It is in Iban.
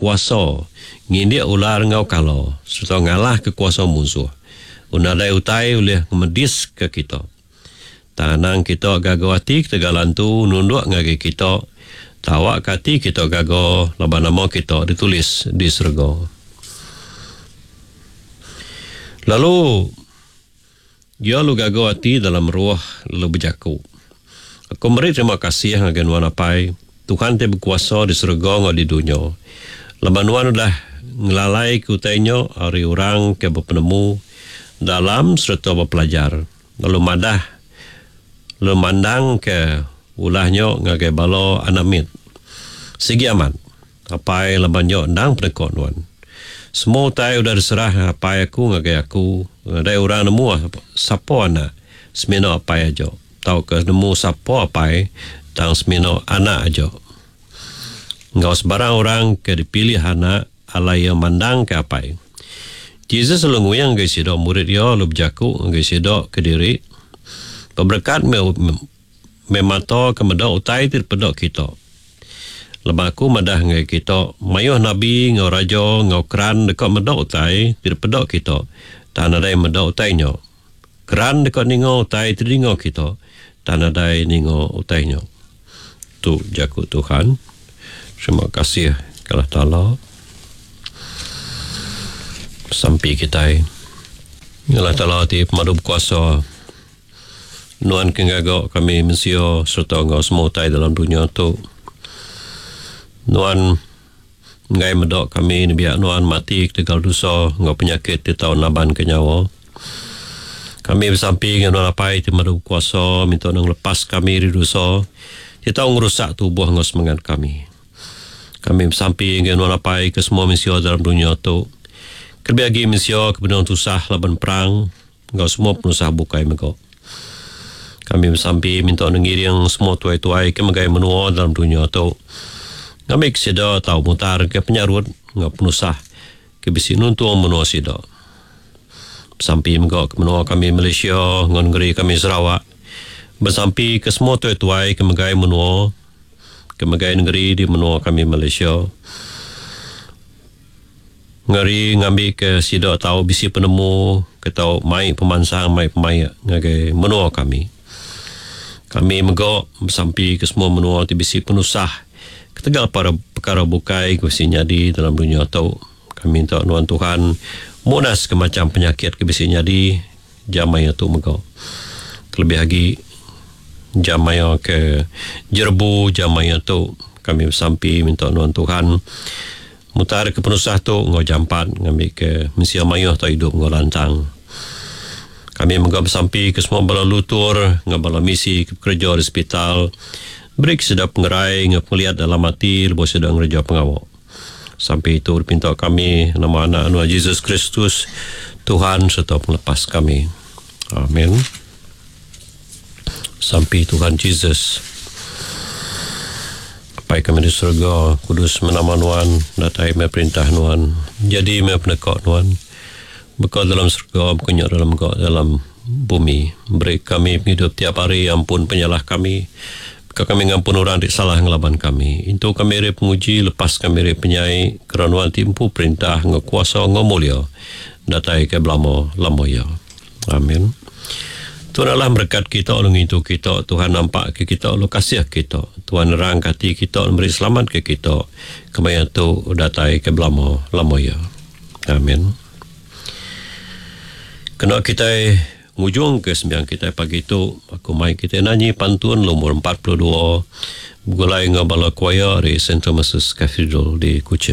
kuasa ngindik ular enggau kala sereta ngalahka kuasa munsuh. Nadai utai ulih ngemediska kita. Tang anang kita gaga ati ketegal antu nunduk ngagai kita, tang awakka ati kita gaga laban nama kita ditulis di serega. Lalu iya lalu gaga ati dalam roh lalu bejaku, Aku meri terima kasih ngagai Nuan Apai, Tuhan ti bekuasa di serega enggau di dunya, laban Nuan udah ngelalaika utai nya ari orang ke bepenemu dalam sereta bepelajar. Lalu madah lalu mandangka ulah nya ngagai bala anak mit. Sigi amat, apai laban nya endang peneka nuan. Semua utai udah diserah apai aku ngagai aku, nadai orang nemu sapa anak semina apai aja, tauka nemu sapa apai tang semina anak aja. Enggau sebarang orang ke dipilih anak alai iya mandangka Apai. Jesus lalu nguing ngagai sida murid iya lalu bejaku ngagai sida kediri, Beberekat meh meh mata ke meda utai ti dipeda kita. Laban aku madah ngagai kita, mayuh nabi enggau raja enggau keran deka meda utai ti dipeda kita, tang nadai meda utai nya. Keran deka ninga utai ti didinga kita, tang nadai ninga utai nya. Tu jaku Tuhan. Terima kasih ke Allah Taala. Sampi kitai. Allah Taala ti pemadu bekuasa. Nuan ke ngaga kami mensia sereta enggau semua utai dalam dunya tu. Nuan enggai meda kami nembiak Nuan mati ketegal dosa enggau penyakit ti tau nabanka nyawa. Kami besampi ngagai Nuan Apai ti Madu Bekuasa minta Nuan ngelepas kami ari dosa ti tau ngerusak tubuh enggau semengat kami. Kami besampi ngagai Nuan Apai ke semua mensia dalam dunya tu, kelebih agi mensia ke benung tusah laban perang enggau semua penusah bukai mega. Kami besampi minta Nuan ngiring semua tuai-tuai ke megai menua dalam dunya tu ngambika sida tau mutarka penyarut enggau penusah ke bisi nuntung menua sida. Besampi mega ke menua kami Malaysia enggau nengeri kami Sarawak. Besampi ke semua tuai-tuai ke megai menua, ke megai nengeri di menua kami Malaysia. Ngeri ngambi ke sida tau bisi penemu ke tau mai pemansang mai pemaik ngagai menua kami. Kami mega besampi ke semua menua ti bisi penusah ketegal pekara bukai ke bisi nyadi dalam dunya tu. Kami minta nuan Tuhan munas ke macham penyakit ke bisi nyadi jam maya tu mega. Kelebih agi jam maya ke jerebu jam maya tu kami besampi minta nuan Tuhan mutar ke penusah tu enggau jampat ngambi ke mensia mayuh tau idup enggau lantang. Kami mega besampi ke semua bala lutur enggau bala misi ke bekereja di sepital beri ke sida pengerai enggau pengeliat dalam ati lebuh sida ngereja pengawa. Sampi itu dipinta kami nama Anak Nuan Jesus Kristus, Tuhan sereta Pengelepas kami. Amin. Sampi Tuhan Jesus. Apai kami di surga, kudus meh nama Nuan, datai meh perintah Nuan, jadi meh peneka Nuan, baka dalam surga, baka nya dalam mega dalam bumi. Beri kami pengidup tiap hari, ampun penyalah kami, Ka kami ngampun orang ti salah ngelaban kami. Intu kami ari penguji, lepas kami ari penyai, kera Nuan ti empu perintah enggau kuasa enggau mulia datai ke belama lama iya. Amin. Tuhan Allah merekat kita lalu ngintu kita, Tuhan nampak ke kita lalu kasih ke kita, Tuhan nerang ke ati kita lalu meri selamat ke kita kemaya tu datai ke belama lama iya. Amin. Kena kitai Ngujung ke sembiang kitai pagi tu, aku mai kitai nanyi pantun lumur 42 begulai enggau bala choir ari Saint Thomas's Cathedral di Kuching.